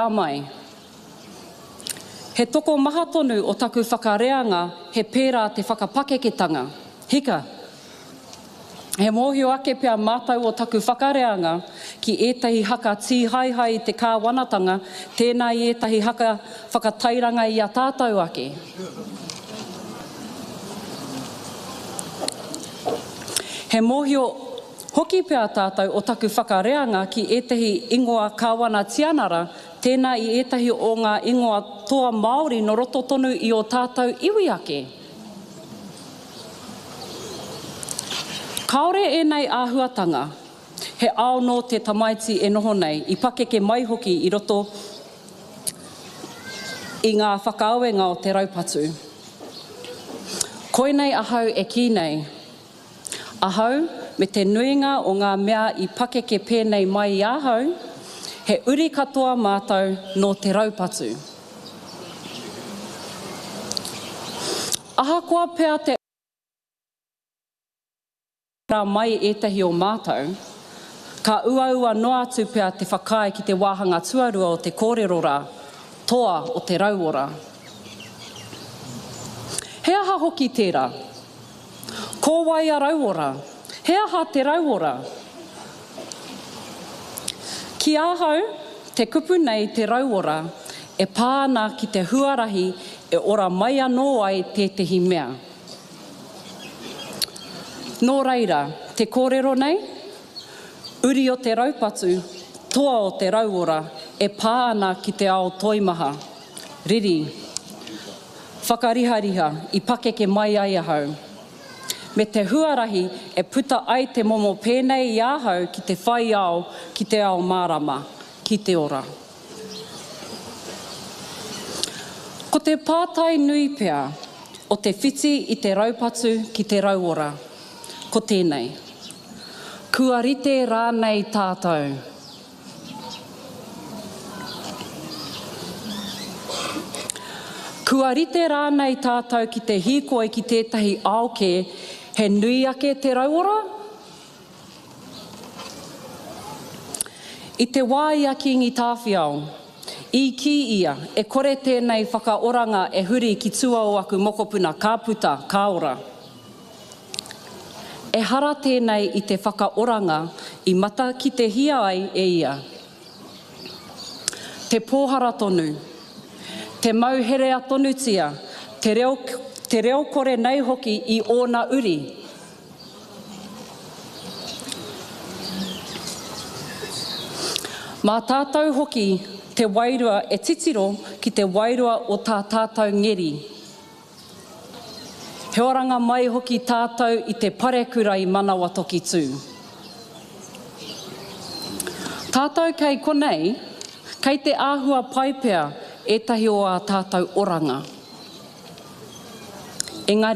Mai. He tokomaha tonu o taku whakareanga he pērā te whakapakeketanga. Hika! He mōhio ake pea mātou o taku whakareanga ki ētahi haka tīhaehae i te kāwanatanga tēnā i ētahi haka whakatairanga i a tātou ake. He mōhio Hoki pea tātou o taku whakareanga ki ētahi ingoa Kāwana Tianara, tēnā i ētahi o ngā ingoa toa Māori nō roto tonu i ō tātou iwi ake. Kāore ēnei āhuatanga, he ao nō te tamaiti e noho nei, i pakeke mai hoki i roto i ngā whakaawenga o te raupatu. Koinei ahau e kī nei, Ahau, me te nuinga o ngā mea i pakeke pēnei mai i ahau, he uri katoa mātou nō te raupatu. Ahakoa pea te ora mai ētahi o mātou, ka uaua noa atu pea te whakaae ki te wāhanga tuarua o te kōrero rā, toa o te rauora. He aha hoki tērā? Ko wai a Rauora? He aha te rauora? Ki ahau, te kupu nei te rauora e pā ana ki te huarahi e ora mai anō ai tētehi mea. Nō reira, te kōrero nei, uri o te raupatu, toa o te rauora e pā ana ki te ao toimaha, riri, Whakarihariha i pakeke mai ai ahau. Me te huarahi e puta ai te momo pēnei i ahau ki te whai ao, ki te ao mārama, ki te ora. Ko te pātai nui pea o te whiti i te raupatu ki te rauora, ko tēnei, Kua rite rānei tātou? Kua rite rānei tātou ki te hīkoi ki tētahi ao kē, he nui ake te rauora? I te wā i a Kīngi Tāwhiao, i kī ia, e kore tēnei whakaoranga e huri ki tua o aku mokopuna, ka puta, ka ora. Ehara tēnei i te whakaoranga i matakitehia ai e ia. Te pōhara tonu, te mau herea tonutia, te reo, te reo kore nei hoki i ōna uri. Mā tātou hoki te wairua e titiro ki te wairua o tā tātou ngeri. He oranga mai hoki tātou i te parekura i Manawatoki tū. Tātou kei konei, kei te āhua pai pea ētahi o ā tātou oranga. Engari.